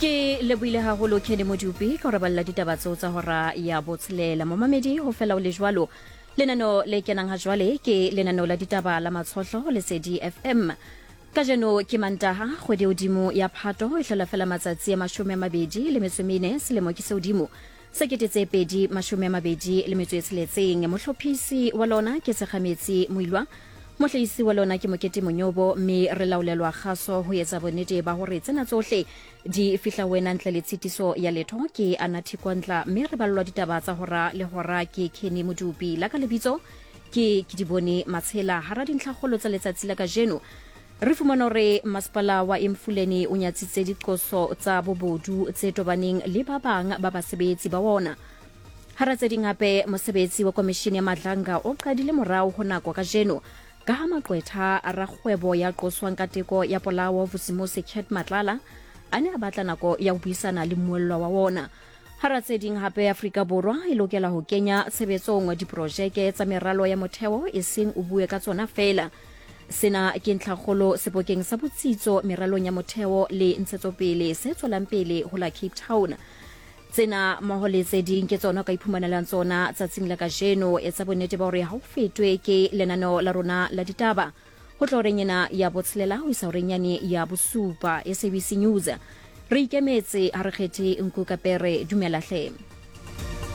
Ke lebohile haholo Kenny Modupi ka ho re balla ditaba tseo tsa hora ya botshelela. Momamedi ho fela o le jwalo. Lenaneo le kenang ha jwale ke lenaneo la ditaba la Matshohlo ho Lesedi FM. Kajeno ke Mantaha, kgwedi e hodimo ya Phato e hlola fela matsatsi a 24 selemo ke se hodimo se 2026. Mohlophisi wa lona ke Sekgametsi Moilwa, mohlahisi wa lona ke Mokete Monyobo, mme re laolelwa kgaso ho etsa bonnete ba hore tsena tsohle di fihla ho wena ntle le tshitiso ya letho. Ke Anathi Kwantla, mme re ballwa ditaba tsa hora le hora ke Kenny Modupi. La ka lebitso ke Kedibone Matshela. Hara dintlhakgolo tsa letsatsi la kajeno re fumana hore masepala wa Emfuleni o nyatsitse diqoso tsa bobodu tse tobaneng le ba bang ba basebetsi ba wona. Hara tse ding hape, mosebetsi wa komishini ya Madlanga o qadile morao ho nako kajeno ka ha maqwetha a rakgwebo ya qoswang ka teko ya polao Vusimusi Cat Matlala a ne a batla nako ya ho buisana le mmuellwa wa wona. Hara tse ding hape, Afrika Borwa e lokela ho kenya tshebetsong diprojeke tsa meralo ya motheo eseng o bue ka tsona feela. Sena ke ntlhakgolo sebokeng sa botsitso meralong ya motheo le ntshetsopele se tswelang pele ho la Cape Town. Tsena mmoho le tse ding ke tsona o ka iphumanelang tsona tsatsing la kajeno. Etsa bonnete ba hore ha o fetwe ke lenaneo la rona la ditaba ho tloha horeng ena ya botshelela ho isa horeng yane ya bosupa. SABC News, re ikemetse, ha re kgethe nku ka pere. Dumela hle.